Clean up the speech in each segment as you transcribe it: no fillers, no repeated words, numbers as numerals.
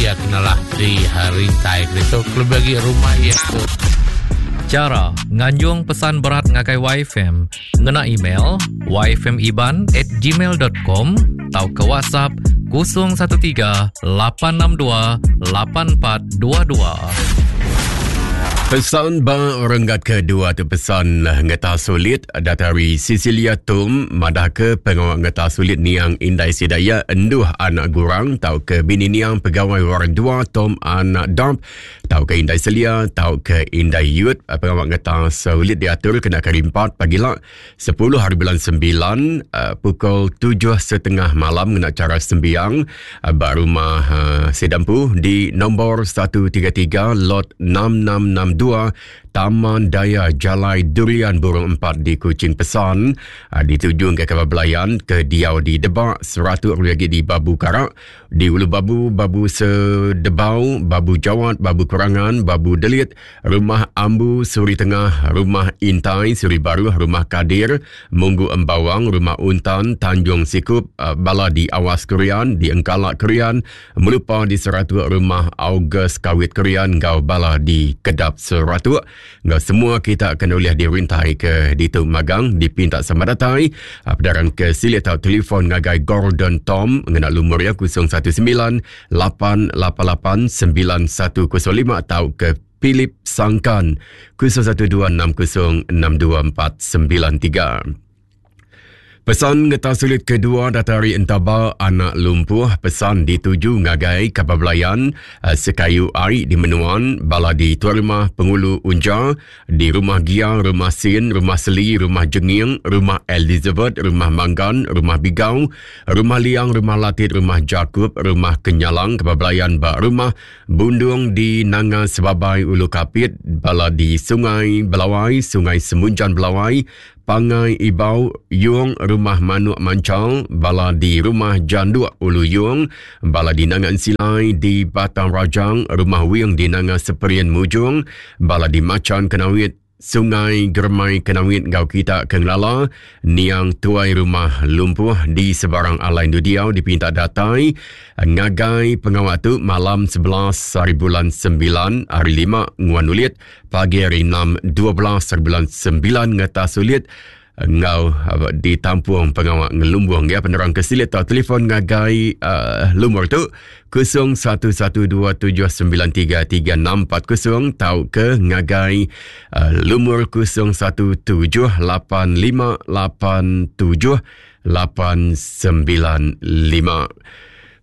iya kenalah di rintai ke ditu kelebih agi rumah iya tu. Chara nganjung pesan berat ngagai YFM ngena email yfmiban at gmail.com tauka WhatsApp 013 862 8422. Pesan ba renggat kedua tu pesan ngeta sulit datari Cecilia Tum madah ke pengawa ngeta sulit niang indai sida iya enduh anak gurang tau ke bini niang pegawai warang dua Tom anak Dump tau ke indai Selia tau ke indai Yut pengawa ngeta sulit diatur kena ke hari empat pagila 10 hari bulan 9 uh, pukul 7.30 malam ngena cara sembiang uh, ba rumah uh, Sedampu di nombor 133 lot 6662 Taman Daya Jalai Durian Burung 4 di Kuching Pesan uh, ditujung ke kabar belayan ke diau di Debak 100 lagi di Babu Karak di Ulu Babu Babu Sedebau Babu Jawat Babu Kurangan Babu Delit Rumah Ambu Suri Tengah, Rumah Intai Suri Baruh, Rumah Kadir, Munggu Embawang, Rumah Untan, Tanjung Sikup, eh, Bala di Awas Kerian, di Engkala Kerian, Melupa di Seratuk, Rumah August Kawit Kerian, enggau Bala di Kedap Seratuk. Enggau semua kita akan ulih dirintai ke ditu magang dipinta sama datai. Eh, pedarang ke silik tau telefon ngagai Gordon Tom ngena lumur ya 019 888 9105 atau ke Philip Sangkan 0126062493. Pesan ngeta sulit kedua datari entaba anak lumpuh pesan dituju ngagai kapal belayan eh, sekayu ai di menuan bala di tuan rumah pengulu unja di Rumah Gia, Rumah Sin, Rumah Seli, Rumah Jenging, Rumah Elizabeth, Rumah Manggan, Rumah Bigau, Rumah Liang, Rumah Latit, Rumah Jakub, Rumah Kenyalang, Kebablayan ba Rumah Bundung di Nanga Sebabai Ulu Kapit, bala di Sungai Belawai, Sungai Semunjan Belawai, Pangai Ibau, Yung, Rumah Manuk Manchal, bala di Rumah Janduk Ulu Yung, bala di Nanga Ensilai di Batang Rajang, Rumah Wing di Nanga Seperian Mujung, bala di Machan Kenawit, Sungai Germai Kenawit enggau kita ke ngelala niang tuai rumah lumpuh di sebarang alai endur diau dipinta datai ngagai pengawa tu malam 11 hari bulan 9 hari 5 nguan ulit pagi hari 6 12 hari bulan 9 ngetas ulit enggau uh, ditampung pengawa ngelumbung ya penerang ke silik atau telefon ngagai uh, lumur tu 0112793340 tau ke ngagai uh, lumur 0178587895.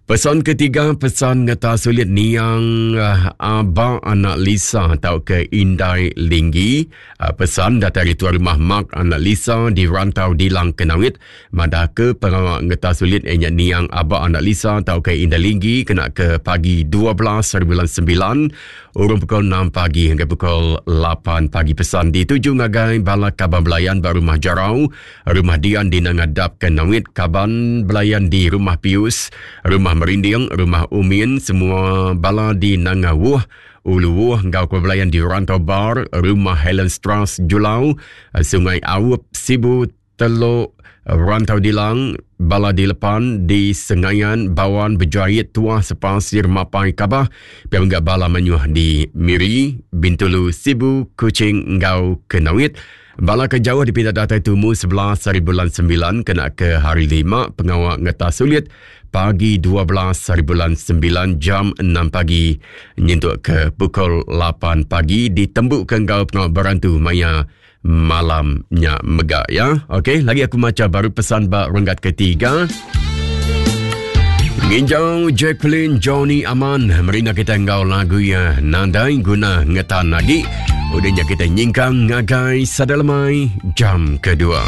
Pesan ketiga, pesan ngeta sulit niang uh, Abang anak Lisa atau ke Indai Linggi. Uh, pesan datai ari tuan rumah Mark anak Lisa di Rantau Dilang Kenawit. Madah ke pengawa ngeta sulit inya niang Abang anak Lisa atau ke Indai Linggi kena ke pagi 12 hari bulan 9 urung pukul 6 pagi hingga pukul 8 pagi pesan dituju ngagai bala kaban belayan ba rumah Jarau Rumah Dian di Nanga Dap ke Nawit, kaban belayan di Rumah Pius, Rumah Merinding, Rumah Umin, semua bala di Nanga Wuh, Ulu Wuh enggau kaban belayan di Rantau Bar, Rumah Helen Strass Julau, Sungai Aup, Sibu, Telok, Rantau Dilang, bala di Lepan, di Sengayan, Bawan, Bejait, Tuah, Sepasir, Mapai, Kabah, pia mega bala menyuh di Miri, Bintulu, Sibu, Kuching enggau Kenawit. Bala ke jauh dipinta datai tumu 11 hari bulan 9 kena ke hari 5 pengawa ngetas sulit pagi 12 hari bulan 9 jam 6 pagi nyentuk ke pukul 8 pagi ditembuka enggau pengawa berantu maya malam nya mega ya. Okey, lagi aku maca baru pesan ba renggat ketiga. Nginjau Jacqueline Johnny Aman merina kita enggau lagu ya Nadai Guna Ngetan Lagi. Udah nya kita nyingkang ngagai Sada Lemai jam kedua.